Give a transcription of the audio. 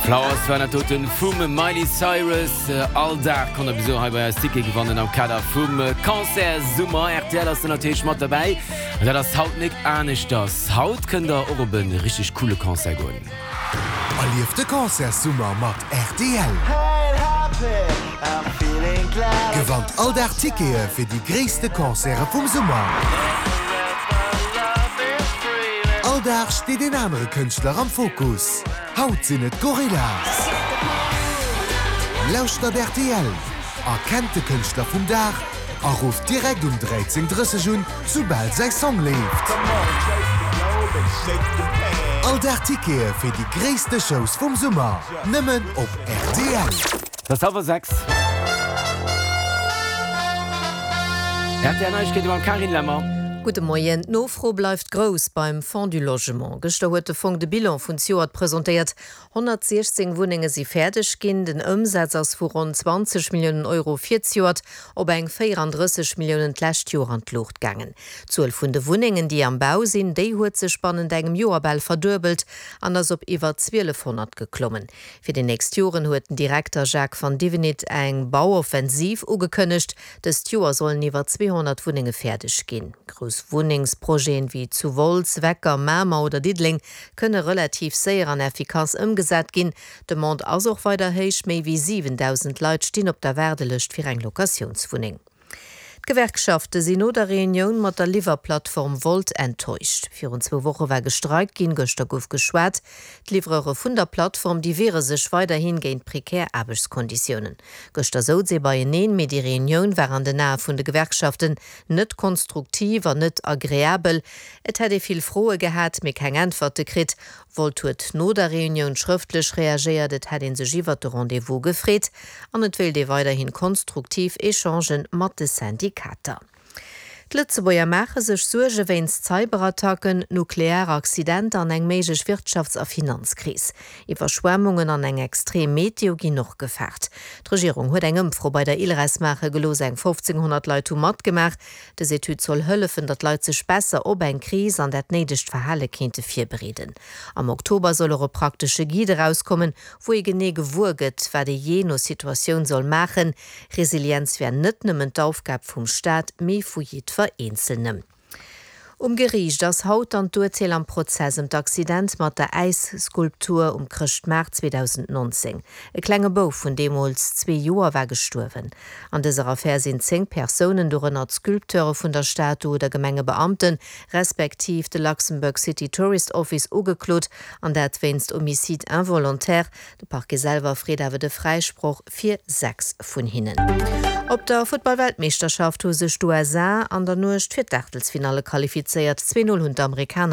Flowers war dat doten vum Miley Cyrus. All Dag konnt der bis elo hei bei eis Tickete gewannen am Kader vum Concert Summer. Rtl ass do natierlech mat derbäi an dat ass haut nik aneschters. Haut kënnt der och op e richteg coole Concert goen. Erlieft de Concertssummer mat rtl! Gewannt all Dag Tickete fir déi gréisste Concerte vum Summer! All Dag steet een anere Kënschtler am Fokus. Haut sinn et d'Gorillaz! Lauschtert rtl, erkennt de Kënschtler vum Dag a rufft direkt um 13:30 un, soubal säi Song leeft. All Dag Tickete fir déi gréisste Shows vum Summer, nëmmen op rtl. Et ass hallwer 6. Rtl Neiegkeete mam Carine Lemmer. Gudde Moien. D'Nofro bleift grouss beim Fonds du Logement. Gëschter huet de Fong de Bilan vun zejoert presentéiert. 116 Wunnenge si fäerdeg ginn. Den Ëmsaz ass vu ronn 20 Milliounen Euro fir zejoert op eng 34 Milliounen d'lescht Joer an d'Luucht gaangen. D'Zuel vun de Wunnengen, déi am Bau sinn, déi huet sech bannent engem Joer bal verduebelt an ass op iwwer 1.200 geklommen. Fir déi nächst Joren huet den Direkter Jacques van Divenit eng Bauoffensiv ugekënnegt. Dëst Joer sollen iwwer 200 Wunnenge fäerdeg ginn. Grouss Wunnengsprojeten wéi zu Wolz, Wecker, Mamer oder Diddeleng kënne relativ séier an effikass ëmgesat ginn. D'Demande ass och weider héich, méi wéi 7.000 Leit stinn op der Waardelëscht fir eng Locatiounswunneng. D'Gewerkschafte sinn no der Reunioun mat der Liwwerplattform Wolt enttäuscht. Virun zwou Woche war gestreikt ginn, gëschter gouf geschwat. D'Livreure vun der Plattform, déi wiere sech weiderhi géint prekär Aarbechtskonditiounen. Gëschter souz ee beieneen, mee déi Reunioun war an den Ae vun de Gewerkschaften net konstruktiv an net agreabel. Et hätt ee vill Froe gehat, mee keng Äntwerte kritt. Volt huet no der Reunioun schrëftlech reagéiert, et hätt ee sech iwwert de Rendez-vous gefreet an et wéilt ee weiderhin konstruktiv Echangen mat de Syndikater. D'Lëtzebuerger maache sech Suerge wéinst Cyberattacken, nuklear Accidenter an eng méiglech Wirtschafts a Finanzkris. Iwwerschwemmungen an eng extrem Meteo ginn och gefaart. D'Regierung huet eng Ëmfro bei der ILRES maache gelooss, eng 1.500 Leit hu matgemaach. Dës Etüd soll hëllefen, datt d'Leit sech besser op eng Kris an dat néidegt Verhale kéinte virbereeden. Am Oktober soll och e praktesche Guide erauskommen, wou ee genee gewuer gëtt, wat ee jee no Situatioun soll maachen. Resilienz wär net nëmmen d'Aufgab vum Staat, mee vu jiddwer Eenzelnem. Um Geriicht ass haut dann d'Urteel am Prozess ëm d'Accident mat der Äisskulptur um Chrëschtmaart 2019. E klenge Bouf vun deemools zwee Joer war gestuerwen. An dëser Affär sinn 10 Persounen, dorënner d'Sculpteure vun der Statu oder Gemengebeamten, respektiv de Luxembourg City Tourist Office ugeklot, an dat wéinst Homicide involontaire. De Parquet selwer freet awer de Fräisproch fir 6 vun hinnen. Op der Futtball-Weltmeeschterschaft hu sech d'USA an der Nuecht fir d'Aachtelsfinalle qualifizéiert. 2 Null hunn d'Amerikaner.